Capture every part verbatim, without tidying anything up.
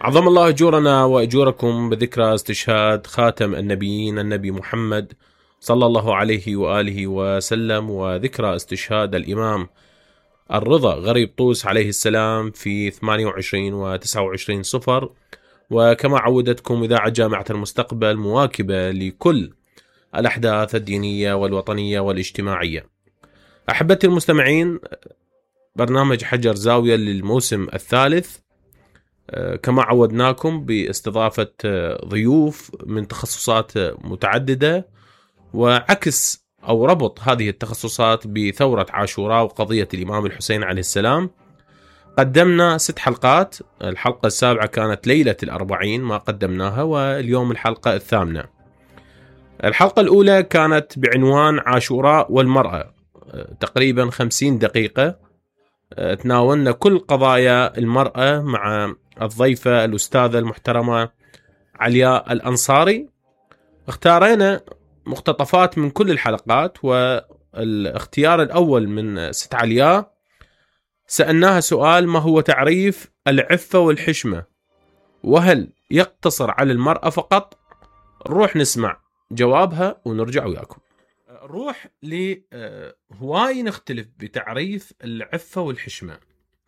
عظم الله أجورنا وأجوركم بذكرى استشهاد خاتم النبيين النبي محمد صلى الله عليه وآله وسلم، وذكرى استشهاد الإمام الرضا غريب طوس عليه السلام في ثمانية وعشرين وتسعة وعشرين صفر. وكما عودتكم إذاعة جامعة المستقبل مواكبة لكل الأحداث الدينية والوطنية والاجتماعية. أحبتي المستمعين، برنامج حجر زاوية للموسم الثالث، كما عودناكم باستضافة ضيوف من تخصصات متعددة، وعكس أو ربط هذه التخصصات بثورة عاشوراء وقضية الإمام الحسين عليه السلام. قدمنا ست حلقات، الحلقة السابعة كانت ليلة الأربعين ما قدمناها، واليوم الحلقة الثامنة. الحلقة الأولى كانت بعنوان عاشوراء والمرأة، تقريبا خمسين دقيقة تناولنا كل قضايا المرأة مع الضيفة الأستاذة المحترمة علياء الأنصاري. اختارينا مقتطفات من كل الحلقات، والاختيار الأول من ست علياء سألناها سؤال: ما هو تعريف العفة والحشمة؟ وهل يقتصر على المرأة فقط؟ نروح نسمع جوابها ونرجع وياكم. نروح لهواي نختلف بتعريف العفة والحشمة.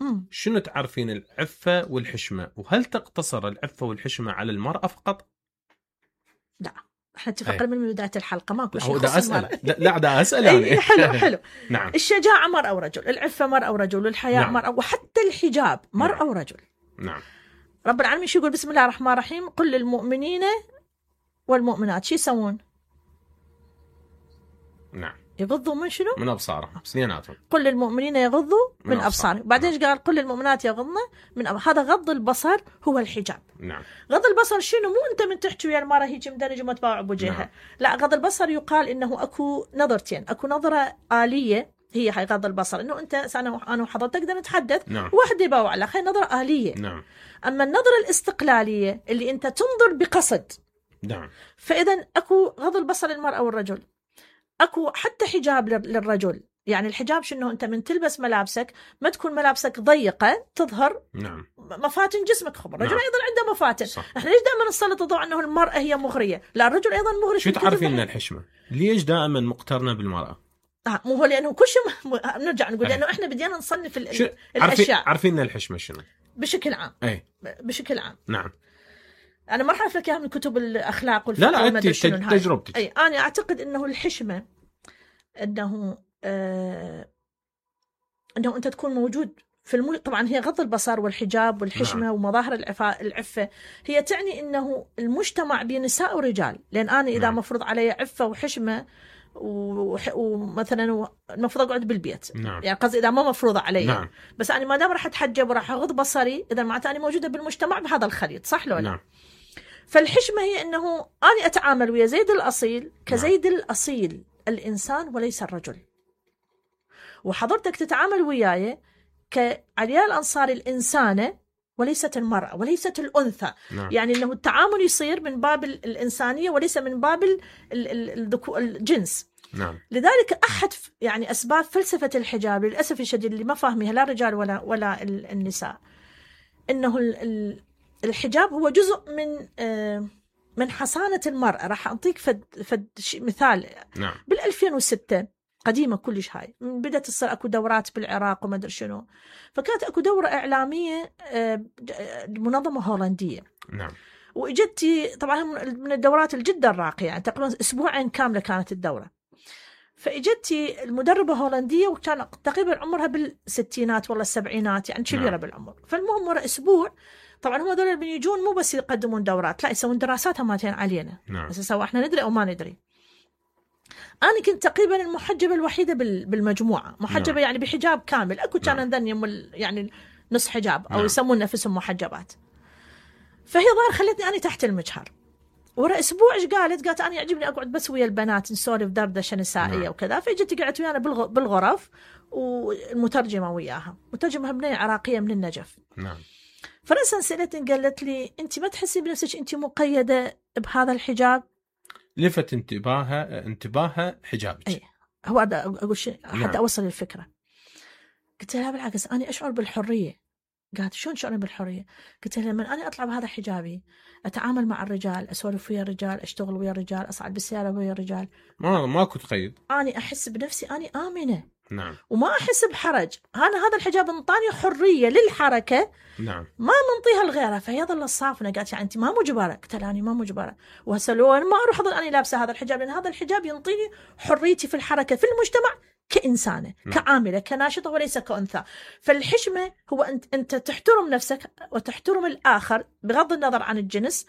مم. شنو تعرفين العفة والحشمة؟ وهل تقتصر العفة والحشمة على المرأة فقط؟ لا، احنا اتفقنا من بداية الحلقة ماكو شيء هو يخص دا أسأل. المرأة. لا دا أسأل أي يعني. حلو حلو. نعم. الشجاعة مرأة ورجل، العفة مرأة ورجل، والحياء نعم. مرأة، وحتى الحجاب مرأة نعم. ورجل. نعم. رب العالمين شو يقول؟ بسم الله الرحمن الرحيم: قل للمؤمنين والمؤمنات شو يسوون؟ نعم. يغضوا من شنو؟ من أبصارهم، سنيناتهم. قل للمؤمنين يغضوا من, من أبصارهم. بعدين نعم. قال قل للمؤمنات يغضن من أب... هذا غض البصر هو الحجاب. نعم. غض البصر شنو؟ مو أنت من تحكي ويا المرأة هيك مدرج وما تباوع بوجهها. نعم. لا، غض البصر يقال إنه أكو نظرتين، أكو نظرة آلية هي هاي غض البصر، إنه أنت أنا أنا وحضرتك نقدر نتحدث. نعم. واحد يباوع لك، هاي نظرة آلية. نعم. أما النظرة الاستقلالية اللي أنت تنظر بقصد. نعم. فإذا أكو غض البصر للمرأة والرجل، أكو حتى حجاب للرجل. يعني الحجاب شنو؟ أنت من تلبس ملابسك ما تكون ملابسك ضيقة تظهر نعم. مفاتن جسمك. خبر الرجل نعم. أيضا عنده مفاتن. صح. احنا ليش دائما نسلط الضوء أنه المرأة هي مغرية؟ لا، الرجل أيضا مغري. شو تعرفين من الحشمة؟ ليش دائما مقترنة بالمرأة؟ آه مو هو لأنه كل شيء م... نرجع نقول لأنه احنا بدينا نصنف ال... شو... الأشياء. عارفين ان الحشمة شنو؟ بشكل عام. أي. بشكل عام. نعم. أنا ما أعرف لك إياها من كتب الأخلاق والفقه. لا لا، أنت تجربتك. أي، أنا أعتقد أنه الحشمة أنه آه أنه أنت تكون موجود في الم... طبعا هي غض البصر والحجاب والحشمة. نعم. ومظاهر العفة العفة هي تعني أنه المجتمع بنساء ورجال. لأن أنا إذا نعم. مفروض علي عفة وحشمة ومثلا و... المفروض أقعد بالبيت. نعم. يعني قصدي إذا ما مفروضة علي. نعم. بس أنا ما دام راح أتحجب وراح أغض بصري، إذا معناته أنا موجودة بالمجتمع بهذا الخليط، صح لو لا؟ نعم. فالحشمة هي أنه أنا أتعامل ويا زيد الأصيل كزيد نعم. الأصيل الإنسان وليس الرجل، وحضرتك تتعامل وياي كعلياء الأنصاري الإنسانة وليست المرأة وليست الأنثى. نعم. يعني أنه التعامل يصير من باب الإنسانية وليس من باب الجنس. نعم. لذلك أحد يعني أسباب فلسفة الحجاب للأسف الشديد اللي ما فاهمها لا الرجال ولا ولا النساء، إنه الحجاب هو جزء من من حصانة المرأة. راح أعطيك فد فد مثال. نعم. بالألفين وستة قديمة كلش، هاي بدأت تصير أكو دورات بالعراق وما أدري شنو، فكانت أكو دورة إعلامية منظمة هولندية. نعم. وإجتي طبعا من الدورات الجدا راقية، يعني تقريبا أسبوعين كاملة كانت الدورة. فإجتي المدربة هولندية وكان تقريبا عمرها بالستينات ولا السبعينات، يعني كبيرة. نعم. بالعمر. فالمهم ورا أسبوع طبعا هم دول اللي يجون مو بس يقدمون دورات، لا يسوون دراسات هماتين علينا. نعم. بس سواء احنا ندري أو ما ندري. أنا كنت تقريبا المحجبة الوحيدة بالمجموعة، محجبة. نعم. يعني بحجاب كامل. أكو كان عندنا نعم. يعني نص حجاب أو نعم. يسمون نفسهم محجبات. فهي ظاهر خلتني أنا تحت المجهر. ورا أسبوع إيش قالت؟ قالت أنا يعجبني أقعد بس ويا البنات نسولف دردشة نسائية. نعم. وكذا. فجت قعدت ويانا بالغرف والمترجمة وياها، مترجمة بنية عراقية من النجف. نعم. فرأسا سألتني قالت لي أنت ما تحسي بنفسك أنت مقيدة بهذا الحجاب؟ لفت انتباهها انتباهها حجابك. أي. هو هذا أقول شيء حتى نعم. أوصل الفكرة. قلت لها بالعكس أنا أشعر بالحرية. قالت شلون شعوري بالحرية؟ قلت لها لما أنا أطلع بهذا حجابي أتعامل مع الرجال، أسولف ويا الرجال، أشتغل ويا الرجال، أصعد بالسيارة ويا الرجال، ما ماكو تقيد، أنا أحس بنفسي أنا آمنة. نعم. وما أحس بحرج. أنا هذا الحجاب انطاني حرية للحركة، نعم. ما منطيها لغيرها. فهي ظل الصافنة قالت يعني أنت ما مجبرة. قلت لها أنا ما مجبرة، وهسه لو أنا ما أروح أظل أنا لابسة هذا الحجاب، لأن هذا الحجاب ينطيني حريتي في الحركة في المجتمع كإنسانة، نعم. كعاملة، كناشطة وليس كأنثى. فالحشمة هو أنت أنت تحترم نفسك وتحترم الآخر بغض النظر عن الجنس.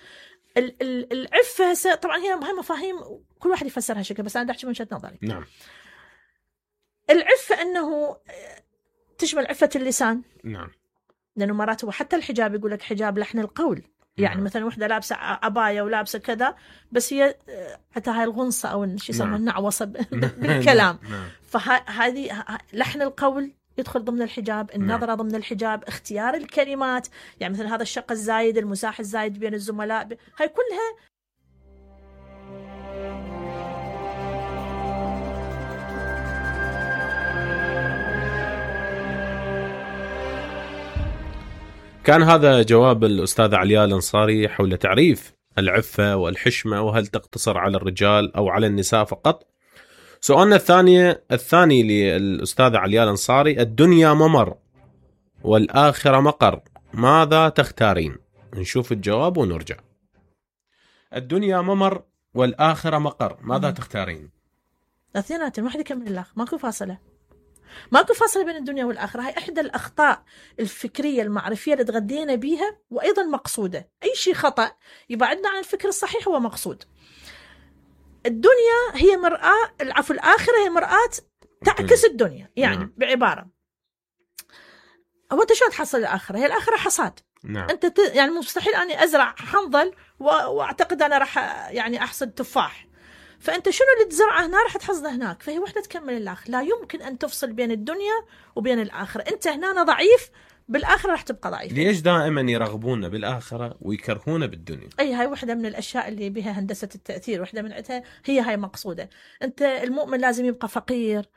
ال- ال- العفة طبعا هي هاي مفاهيم كل واحد يفسرها شكل، بس أنا أحكي من وجهة نظري. نعم. العفة أنه تشمل عفة اللسان، نعم. لأنه مرات هو حتى الحجاب يقول لك حجاب لحن القول، يعني نعم. مثلا وحدة لابسة عباية ولابسة كذا، بس هي حتى هاي الغنصة أو شو يسمى النعوصة بالكلام. نعم. فهذه لحن القول يدخل ضمن الحجاب، النظرة ضمن الحجاب، اختيار الكلمات، يعني مثلا هذا الشق الزايد، المزاح الزايد بين الزملاء، هاي كلها. كان هذا جواب الأستاذة علياء الأنصاري حول تعريف العفة والحشمة، وهل تقتصر على الرجال أو على النساء فقط. سؤالنا الثاني الثاني للأستاذة علياء الأنصاري: الدنيا ممر والآخرة مقر، ماذا تختارين؟ نشوف الجواب ونرجع. الدنيا ممر والآخرة مقر، ماذا تختارين؟ اثنيناتهم، واحد يكمل الآخر، ماكو فاصلة، ماكو فاصلة بين الدنيا والآخرة. هاي إحدى الأخطاء الفكرية المعرفية اللي تغذينا بيها، وأيضا مقصودة. أي شيء خطأ يبعدنا عن الفكر الصحيح هو مقصود. الدنيا هي مرآة، العفو الآخرة هي مرآة تعكس الدنيا. يعني نعم. بعبارة، هو أنت شو تحصل الآخرة؟ هي الآخرة حصاد. نعم. أنت ت... يعني مستحيل أني أزرع حنظل و... وأعتقد أنا راح يعني أحصد تفاح. فأنت شنو اللي تزرعه هنا راح تحصده هناك. فهي وحدة تكمل الآخر. لا يمكن أن تفصل بين الدنيا وبين الآخرة. أنت هنا ضعيف، بالآخرة راح تبقى ضعيف. ليش دائما يرغبون بالآخرة ويكرهون بالدنيا؟ أي هاي واحدة من الأشياء اللي بها هندسة التأثير، واحدة من عتها هي هاي مقصودة. أنت المؤمن لازم يبقى فقير،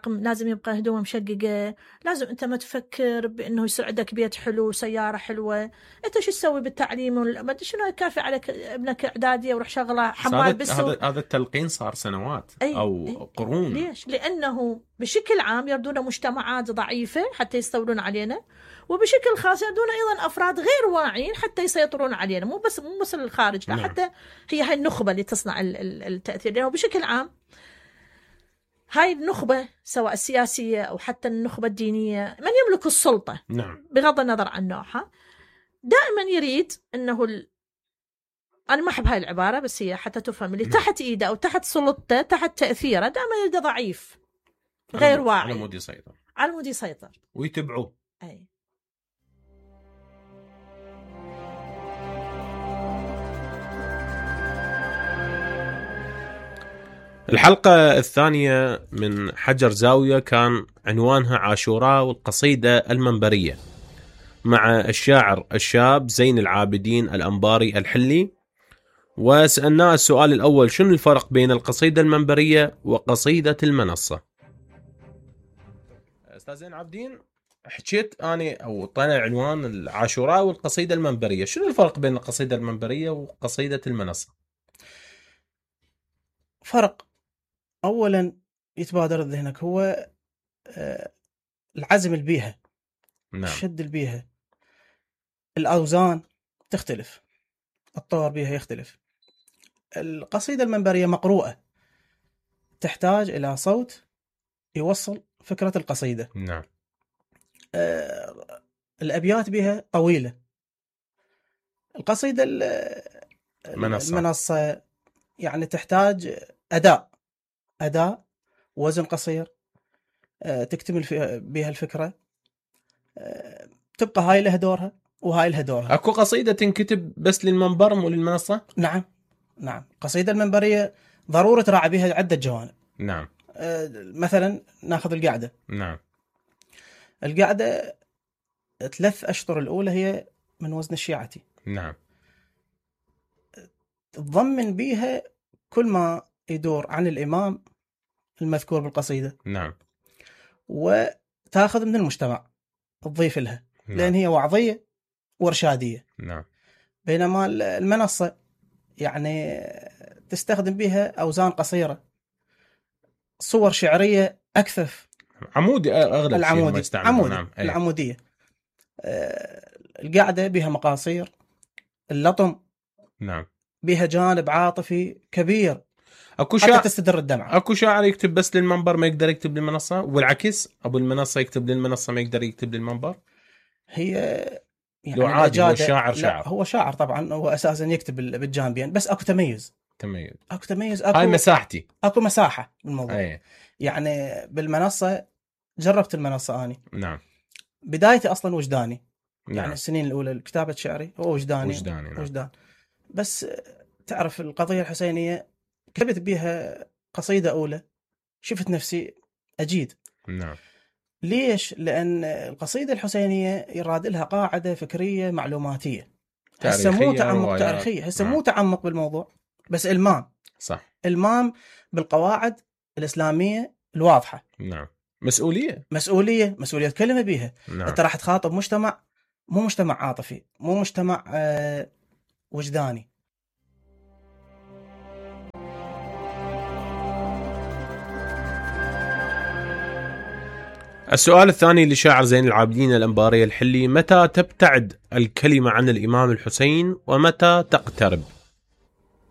لازم يبقى هدومه مشققة، لازم أنت ما تفكر بأنه يصير عندك بيت حلو سيارة حلوة. أنت شو تسوي بالتعليم؟ ما أدري شنو كافي عليك ابنك إعدادية وروح شغله حمال بالسوق. هذا هذا التلقين صار سنوات أي أو أي قرون. ليش؟ لأنه بشكل عام يردون مجتمعات ضعيفة حتى يستولون علينا، وبشكل خاص يردون أيضا أفراد غير واعيين حتى يسيطرون علينا. مو بس مو بس الخارج، لا، نعم. حتى هي هاي النخبة اللي تصنع التأثير. لأنه بشكل عام هاي النخبة سواء السياسية أو حتى النخبة الدينية، من يملك السلطة، نعم. بغض النظر عن نوعها، دائما يريد أنه ال... أنا ما أحب هاي العبارة بس هي حتى تفهم، اللي تحت إيده أو تحت سلطته تحت تأثيره دائما يريد ضعيف غير على واعي، على مود يسيطر، على مود يسيطر ويتبعوه. أي. الحلقة الثانية من حجر زاوية كان عنوانها عاشوراء والقصيدة المنبرية، مع الشاعر الشاب زين العابدين الأنباري الحلي. وسألناه السؤال الأول: شنو الفرق بين القصيدة المنبرية وقصيدة المنصة؟ أستاذ زين العابدين، حكيت أنا أو طلع عنوان العاشوراء والقصيدة المنبرية، شنو الفرق بين القصيدة المنبرية وقصيدة المنصة؟ فرق أولا يتبادر ذهنك هو العزم البيها. نعم. الشد البيها، الأوزان تختلف، الطور بيها يختلف. القصيدة المنبرية مقروءة، تحتاج إلى صوت يوصل فكرة القصيدة. نعم. آه الأبيات بها طويلة. القصيدة المنصة. المنصة يعني تحتاج أداء أداء وزن قصير، آه تكتمل بها الفكرة، آه تبقى هاي لها دورها وهاي لها دورها. أكو قصيدة تنكتب بس للمنبر مو للمنصة؟ نعم نعم. قصيدة المنبرية ضرورة تراعي بها عدة جوانب. نعم. آه مثلا ناخذ القعدة. نعم. القعدة ثلاث أشطر الأولى هي من وزن الشيعتي. نعم. تضمن بيها كل ما يدور عن الإمام المذكور بالقصيدة. نعم. وتأخذ من المجتمع تضيف لها. نعم. لأن هي وعظية وإرشادية. نعم. بينما المنصة يعني تستخدم بها أوزان قصيرة، صور شعرية أكثف. عمودي أغلب العمودي. شيء عمودي. نعم. العمودية. آه القاعدة بها مقاصير، اللطم نعم بها جانب عاطفي كبير، اكو حتى شاعر تستدر الدمعة. اكو شاعر يكتب بس للمنبر ما يقدر يكتب للمنصة، والعكس ابو المنصة يكتب للمنصة ما يقدر يكتب للمنبر. هي يعني لو عادي هو الأجادة- شاعر لا، شاعر هو شاعر طبعا، هو اساسا يكتب بالجانبين، بس اكو تميز. تميز. اكو تميز اكو هاي مساحتي. اكو مساحة بالموضوع. أي. يعني بالمنصة جربت المنصة اني. نعم. بدايتي اصلا وجداني. نعم. يعني السنين الاولى كتابة شعري هو وجداني. وجداني. نعم. وجدان. بس تعرف القضية الحسينية كتبت بها قصيدة اولى، شفت نفسي اجيد. نعم. ليش؟ لأن القصيدة الحسينية يراد لها قاعدة فكرية معلوماتية، هسه مو تعمق تاريخية، هسه مو تعمق بالموضوع، بس إلمام. صح. إلمام بالقواعد الإسلامية الواضحة. نعم. مسؤولية. مسؤولية مسؤولية كلمة بيها. نعم. أنت راح تخاطب مجتمع، مو مجتمع عاطفي، مو مجتمع آه وجداني. السؤال الثاني لشاعر زين العابدين الأنباري الحلي: متى تبتعد الكلمة عن الإمام الحسين ومتى تقترب؟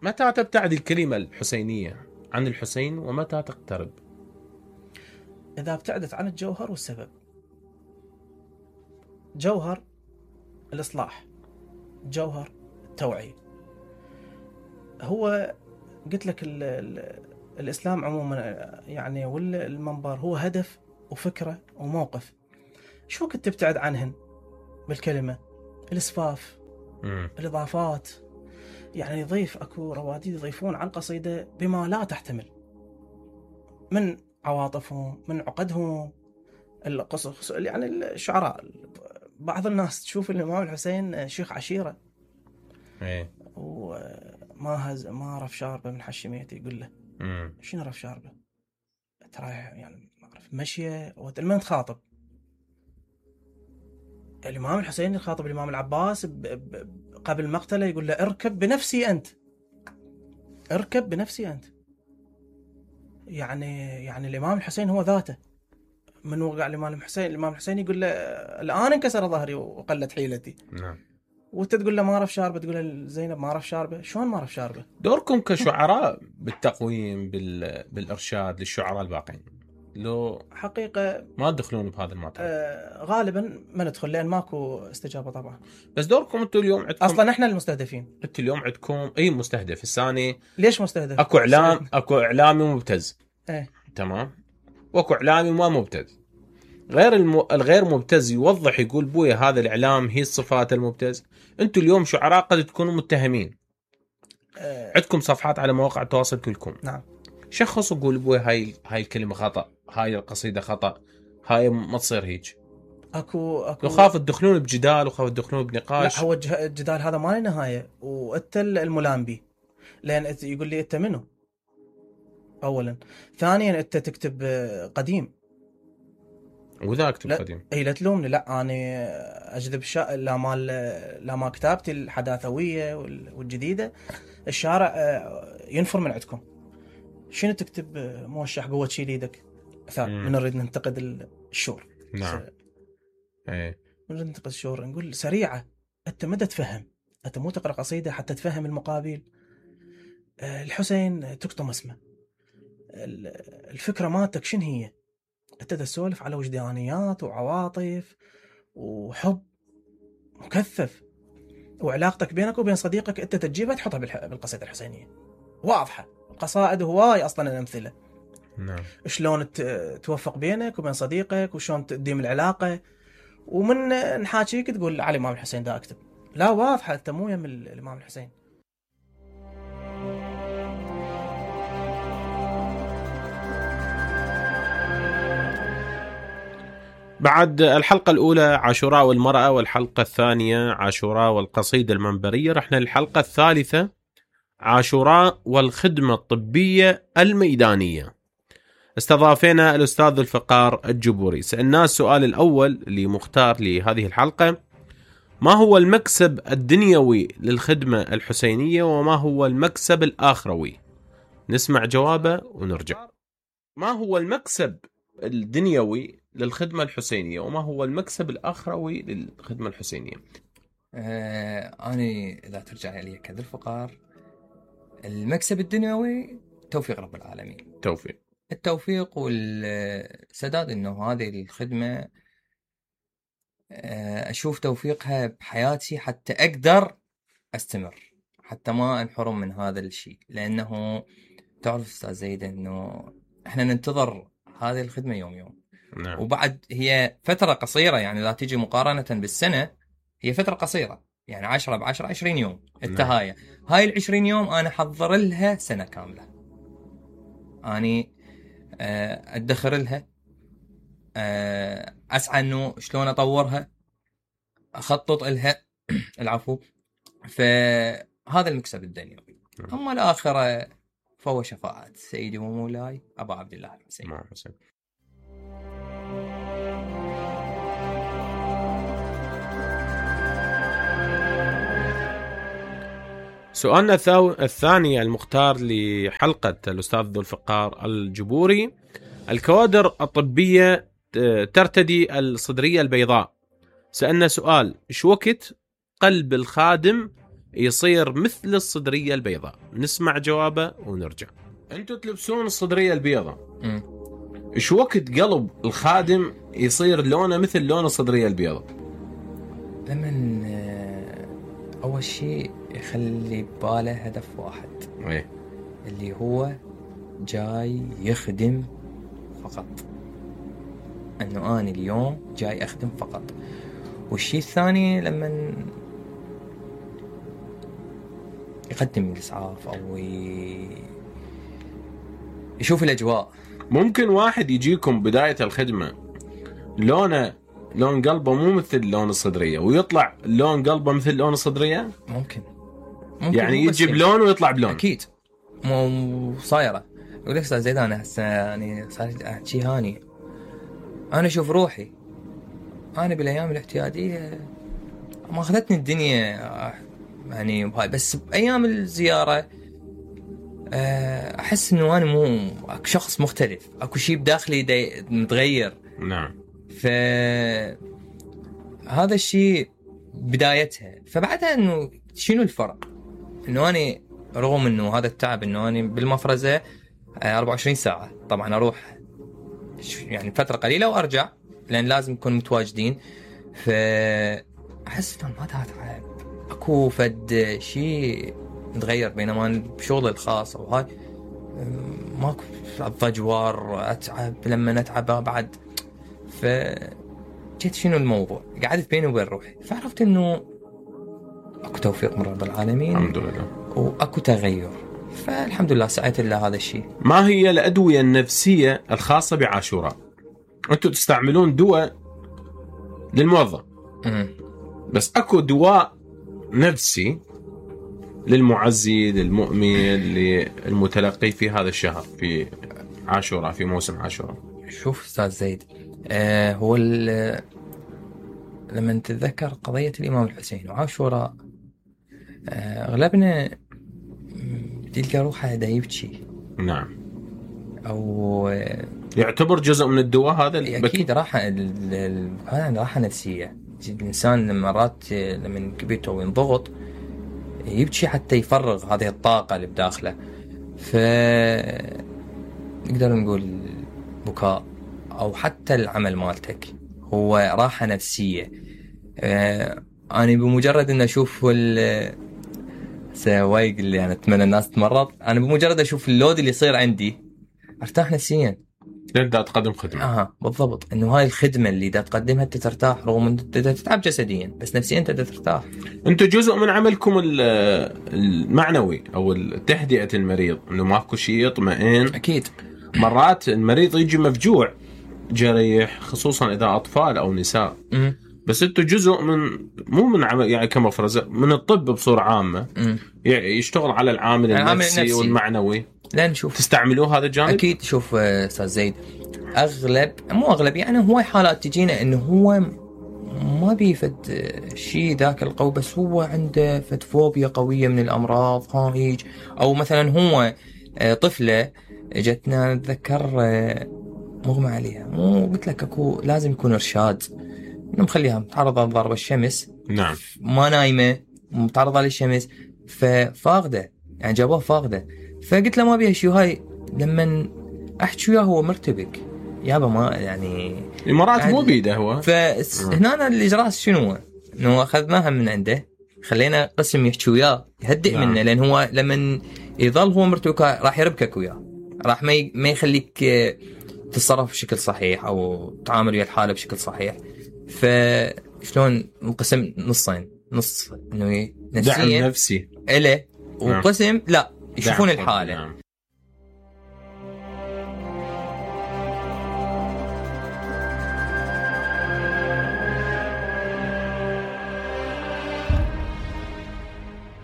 متى تبتعد الكلمة الحسينية عن الحسين ومتى تقترب؟ إذا ابتعدت عن الجوهر والسبب. جوهر الإصلاح، جوهر التوعية. هو قلت لك ال ال الإسلام عموما يعني، والمنبر هو هدف وفكرة وموقف. شو كنت تبتعد عنهن بالكلمة؟ الإسفاف، مم. الإضافات. يعني يضيف أكو رواديد يضيفون على القصيدة بما لا تحتمل من عواطفهم، من عقدهم. القصص يعني الشعراء، بعض الناس تشوف الإمام الحسين شيخ عشيرة، ايه، وما هز ما عرف شاربه من حشميته، يقول له مم. شنو عرف شاربه؟ ترى يعني ما اعرف مشيه ومن تخاطب. الإمام الحسين يخاطب الإمام العباس ب... ب... قبل مقتله، يقول له اركب بنفسي أنت، اركب بنفسي أنت. يعني يعني الإمام الحسين هو ذاته. من وقع الإمام الحسين، الإمام الحسين يقول له الآن انكسر ظهري وقلت حيلتي. نعم. وانت تقول له ما اعرف شاربه، تقول له زينب ما اعرف شاربه. شلون ما اعرف شاربه؟ دوركم كشعراء بالتقويم بال... بالإرشاد للشعراء الباقين، لو حقيقة ما تدخلون بهذا المطلب؟ آه غالبا ما ندخل، لأن ماكو استجابة طبعا. بس دوركم انتم اليوم عندكم اصلا احنا المستهدفين. انتم اليوم عندكم اي مستهدف الثاني. ليش مستهدف؟ اكو اعلام، اكو اعلامي مبتز. ايه. تمام. واكو اعلامي ما مبتز. غير الم... الغير مبتز يوضح يقول بويا هذا الاعلام هي الصفات المبتز. انتم اليوم شعراء قد تكونوا متهمين. آه. عندكم صفحات على مواقع التواصل كلكم. نعم. شخصوا قول بويا هاي هاي الكلمه خطا، هاي القصيده خطا، هاي ما تصير هيك. اكو اكو وخاف تدخلون بجدال وخاف تدخلون بنقاش. لا، هو الجدال هذا ما له نهايه، وانت الملام به. لان يقول لي انت منو؟ اولا. ثانيا انت تكتب قديم، وذا اكتب لا قديم. اي لا تلومني، لا انا اجذب شا... لا مال لا ما كتابتي الحداثويه والجديده. الشارع ينفر من عندكم. شنو تكتب موشح قوه شيل ايدك؟ من نريد ننتقد الشور. نعم. ايه. من نريد ننتقد الشور نقول سريعه. انت مدى تفهم، انت مو تقرا قصيده حتى تفهم المقابل. الحسين تكتم اسمه، الفكره مالتك شنو هي؟ انت تسولف على وجدانيات وعواطف وحب مكثف، وعلاقتك بينك وبين صديقك انت تجيبها تحطها بالقصيده الحسينيه واضحه. القصائد هواي اصلا الامثله. نعم. شلون توفق بينك وبين صديقك، وشلون تديم العلاقه، ومن نحاكيك تقول على الامام الحسين دا اكتب. لا، واضحه انت مو يم الامام الحسين. بعد الحلقة الأولى عاشوراء والمرأة، والحلقة الثانية عاشوراء والقصيدة المنبرية، رحنا للحلقة الثالثة عاشوراء والخدمة الطبية الميدانية. استضافينا الأستاذ ذو الفقار الجبوري. سألناه السؤال الأول اللي مختار لهذه الحلقة: ما هو المكسب الدنيوي للخدمة الحسينية وما هو المكسب الآخروي؟ نسمع جوابه ونرجع. ما هو المكسب الدنيوي للخدمة الحسينية وما هو المكسب الآخروي للخدمة الحسينية؟ آه أنا إذا ترجع لي كذا الفقار، المكسب الدنيوي توفيق رب العالمين. توفيق التوفيق والسداد، إنه هذه الخدمة أشوف توفيقها بحياتي حتى أقدر أستمر، حتى ما انحرم من هذا الشيء. لأنه تعرف أستاذ زيد إنه إحنا ننتظر هذه الخدمة يوم يوم. نعم. وبعد هي فترة قصيرة، يعني لا تيجي مقارنة بالسنة، هي فترة قصيرة، يعني عشرة بعشرة عشرين يوم التهاية. نعم. هاي العشرين يوم أنا حضر لها سنة كاملة، أني أدخر لها، أسعى إنه شلون أطورها، أخطط لها العفو. فهذا المكسب الدنيوي. أما الآخرة فهو شفاعة سيدي ومولاي أبا عبد الله الحسين. نعم حسين. سؤالنا الثاني المختار لحلقة الأستاذ ذو الفقار الجبوري: الكوادر الطبية ترتدي الصدرية البيضاء. سألنا سؤال: إيش وقت قلب الخادم يصير مثل الصدرية البيضاء؟ نسمع جوابه ونرجع. أنتوا تلبسون الصدرية البيضاء، إيش وقت قلب الخادم يصير لونه مثل لون الصدرية البيضاء؟ لمن أول شيء يخلي باله هدف واحد، إيه؟ اللي هو جاي يخدم فقط، أنه أنا اليوم جاي أخدم فقط. والشيء الثاني لما يقدم الإسعاف أو يشوف الأجواء. ممكن واحد يجيكم بداية الخدمة لونه لون قلبه مو مثل لون الصدرية ويطلع لون قلبه مثل لون الصدرية؟ ممكن, ممكن يعني يجي بلون ويطلع بلون. أكيد مو صايرة. يقول لك أستاذ زيد أنا هسه يعني صارت أحكي هاني، أنا أشوف روحي أنا بالأيام الاعتيادية ما أخذتني الدنيا يعني بهاي، بس بأيام الزيارة أحس إنه أنا مو أكو شخص مختلف، أكو شيء بداخلي متغير. نعم. فهذا الشيء بدايتها. فبعدها إنه شنو الفرق؟ إنه أنا رغم إنه هذا التعب، إنه أنا بالمفرزة أربعة وعشرين ساعة، طبعا أروح يعني فترة قليلة وأرجع لأن لازم نكون متواجدين. فأحس إنه ما تعب، أكو فد شيء متغير. بينما بشغل الخاص أو هاي ماكو ضجوار، أتعب لما نتعب بعد. فجيت شنو الموضوع، قعدت بيني وبين روحي، فعرفت إنه أكو توفيق من رب العالمين الحمد لله، وأكو تغير. فالحمد لله سعيت الله هذا الشيء. ما هي الأدوية النفسية الخاصة بعاشوراء؟ أنتوا تستعملون دواء للموظف م- بس أكو دواء نفسي للمعزي للمؤمن للمتلقي في هذا الشهر في عاشوراء، في موسم عاشوراء. شوف أستاذ زيد، آه هو لما نتذكر قضية الإمام الحسين وعاشوراء، آه أغلبنا تلقى روحه دا يبكي. نعم. أو يعتبر جزء من الدواء هذا. أكيد راحة هذا راحة نفسية. الإنسان مرات لما كبيته وينضغط يبكي حتى يفرغ هذه الطاقة اللي بداخله. فنقدر نقول بكاء أو حتى العمل مالتك هو راحة نفسية. آه أنا بمجرد أن أشوف ال سوايق اللي أنا يعني أتمنى الناس تمرض، أنا بمجرد أشوف اللود اللي يصير عندي أرتاح نفسيا. تبدأ تقدم خدمة. آه بالضبط، إنه هاي الخدمة اللي دا تقدمها أنت ترتاح، رغم أن أنت تتعب جسديا بس نفسيا أنت ترتاح. أنتوا جزء من عملكم المعنوي أو تهدئة المريض، إنه ماكو شيء يطمئن. أكيد. مرات المريض يجي مفجوع جريح، خصوصا إذا أطفال أو نساء. م- بس أنتوا جزء من مو من عمل يعني كمفرزة من الطب بصورة عامة، م- يشتغل على العامل, العامل النفسي, النفسي والمعنوي. لان شوف تستعملوه هذا الجانب؟ اكيد. شوف استاذ زيد، اغلب مو اغلب يعني هواي حالات تجينا انه هو ما بيفد شيء ذاك القوي، بس هو عنده فد فوبيا قويه من الامراض ها هيج، او مثلا هو طفله جتنا اتذكر مغمى عليها، مو قلت لك اكو لازم يكون ارشاد انه مخليها متعرضه لضرب الشمس، نعم، ما نايمه متعرضه للشمس، ففاقده يعني جابوها فاقده. فقلت له ما بيها شيء، هاي لما احكي وياه هو مرتبك يابا، ما يعني الامارات مو بيده هو. فهنا الاجراء شنو؟ انه اخذناها من عنده، خلينا قسم يحكي وياه يهدئ نعم. منه، لان هو لما يظل هو مرتبك راح يربكك وياه، راح ما ما يخليك تتصرف بشكل صحيح او تعامل ويا الحاله بشكل صحيح. فشلون نقسم نصين، نص انه دعم نفسي له، وقسم نعم. لا يشوفون الحاله نعم.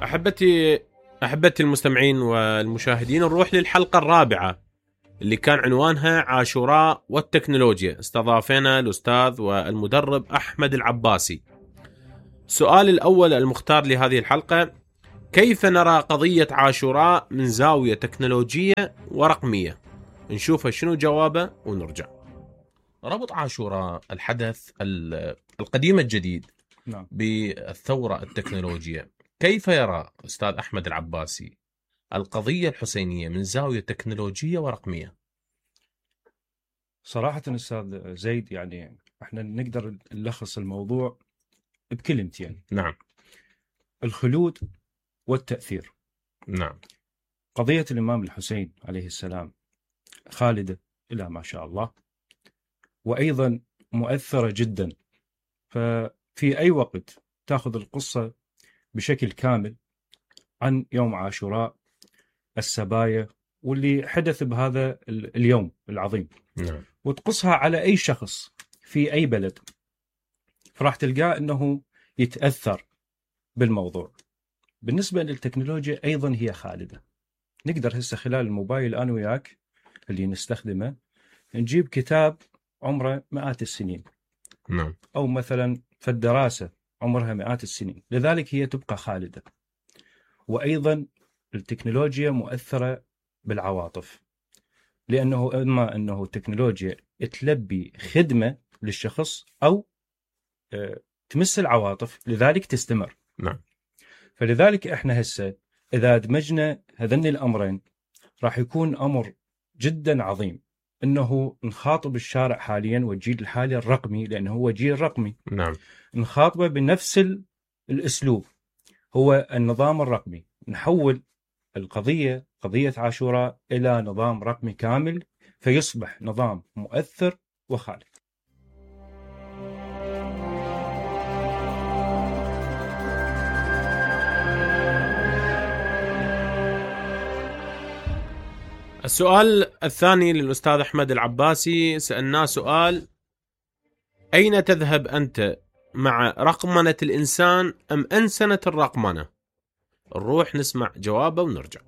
أحبتي أحبتي المستمعين والمشاهدين، نروح للحلقة الرابعة اللي كان عنوانها عاشوراء والتكنولوجيا. استضافنا الأستاذ والمدرب أحمد العباسي. السؤال الأول المختار لهذه الحلقة: كيف نرى قضية عاشوراء من زاوية تكنولوجية ورقمية؟ نشوف شنو جوابه ونرجع. ربط عاشوراء الحدث القديم الجديد نعم. بالثورة التكنولوجية، كيف يرى أستاذ أحمد العباسي القضية الحسينية من زاوية تكنولوجية ورقمية؟ صراحة أستاذ زيد، يعني احنا نقدر نلخص الموضوع بكلمتين. نعم. الخلود والتأثير. نعم. قضية الإمام الحسين عليه السلام خالدة إلى ما شاء الله، وأيضا مؤثرة جدا. ففي أي وقت تأخذ القصة بشكل كامل عن يوم عاشوراء، السبايا واللي حدث بهذا اليوم العظيم، نعم. وتقصها على أي شخص في أي بلد، فراح تلقاه أنه يتأثر بالموضوع. بالنسبة للتكنولوجيا أيضا هي خالدة. نقدر هسه خلال الموبايل أنا وياك اللي نستخدمه نجيب كتاب عمره مئات السنين، نعم. أو مثلا في الدراسة عمرها مئات السنين، لذلك هي تبقى خالدة. وأيضا التكنولوجيا مؤثرة بالعواطف، لأنه إما أنه التكنولوجيا تلبي خدمة للشخص أو تمس العواطف، لذلك تستمر. نعم. فلذلك إحنا هسه إذا دمجنا هذين الأمرين راح يكون أمر جدا عظيم، أنه نخاطب الشارع حاليا والجيل الحالي الرقمي، لأنه هو جيل رقمي. نعم. نخاطبه بنفس الأسلوب، هو النظام الرقمي. نحول القضية قضية عاشوراء إلى نظام رقمي كامل، فيصبح نظام مؤثر وخالد. السؤال الثاني للأستاذ أحمد العباسي، سألناه سؤال: أين تذهب أنت مع رقمنة الإنسان أم أنسنة الرقمنة؟ نروح نسمع جوابه ونرجع.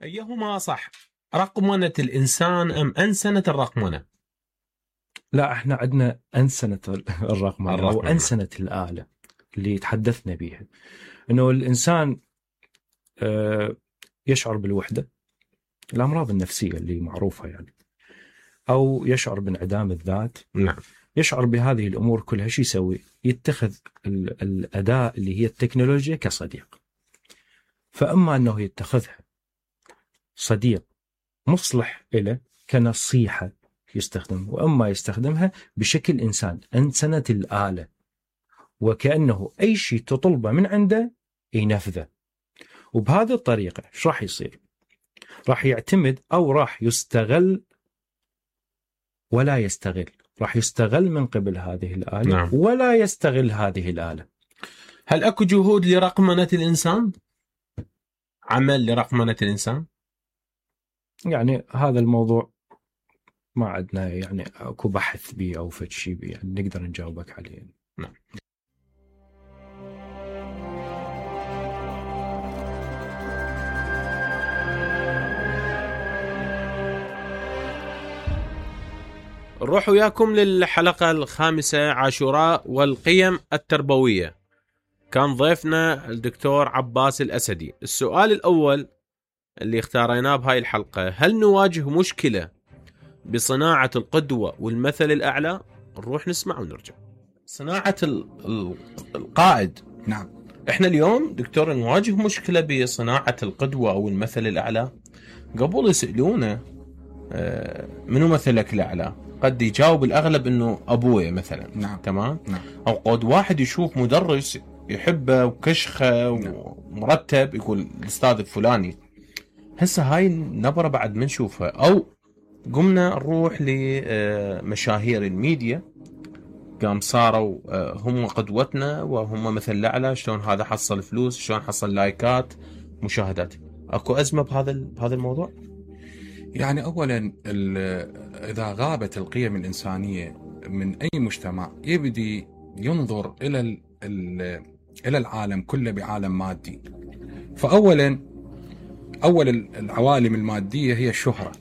أيهما صح، رقمنة الإنسان أم أنسنة الرقمنة؟ لا، احنا عندنا أنسنة الرقمنة أو أنسنة الآلة اللي تحدثنا بيها، أنه الإنسان يشعر بالوحدة، الأمراض النفسية اللي معروفة يعني، أو يشعر بانعدام الذات. نعم. يشعر بهذه الأمور كلها. شو يسوي؟ يتخذ الأداة اللي هي التكنولوجيا كصديق. فأما أنه يتخذها صديق مصلح له كنصيحة يستخدم، وأما يستخدمها بشكل إنسان، أنسنة الآلة، وكأنه أي شيء تطلبه من عنده ينفذه. وبهذه الطريقة شو راح يصير؟ راح يعتمد أو راح يستغل ولا يستغل، راح يستغل من قبل هذه الآلة. نعم. ولا يستغل هذه الآلة. هل أكو جهود لرقمنة الإنسان؟ عمل لرقمنة الإنسان؟ يعني هذا الموضوع ما عندنا يعني أكو بحث به أو فد شيء به يعني نقدر نجاوبك عليه. نعم. نروح وياكم للحلقة الخامسة، عاشوراء والقيم التربوية. كان ضيفنا الدكتور عباس الأسدي. السؤال الأول اللي اختاريناه بهاي الحلقة: هل نواجه مشكلة بصناعة القدوة والمثل الأعلى؟ نروح نسمع ونرجع. صناعة القائد. نعم. احنا اليوم دكتور نواجه مشكلة بصناعة القدوة أو المثل الأعلى. قبل يسألونه منو مثلك الأعلى، قد يجاوب الأغلب إنه أبوي مثلا. نعم. تمام. نعم. أو قد واحد يشوف مدرس يحبه وكشخه نعم. ومرتب يقول الأستاذ الفلاني. هسه هاي النبرة بعد ما نشوفها، أو قمنا نروح لمشاهير الميديا قام صاروا هم قدوتنا وهم مثل الأعلى، شلون هذا حصل فلوس، شلون حصل لايكات مشاهدات. أكو أزمة بهذا بهذا الموضوع؟ يعني أولا إذا غابت القيم الإنسانية من أي مجتمع يبدي ينظر إلى إلى العالم كله بعالم مادي. فأولا أول العوالم المادية هي الشهرة،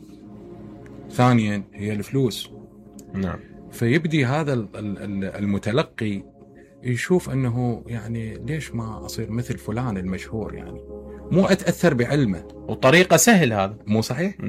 ثانيا هي الفلوس. نعم. فيبدي هذا المتلقي يشوف أنه يعني ليش ما أصير مثل فلان المشهور، يعني مو أتأثر بعلمه وطريقة سهل هذا. مو صحيح؟ نعم.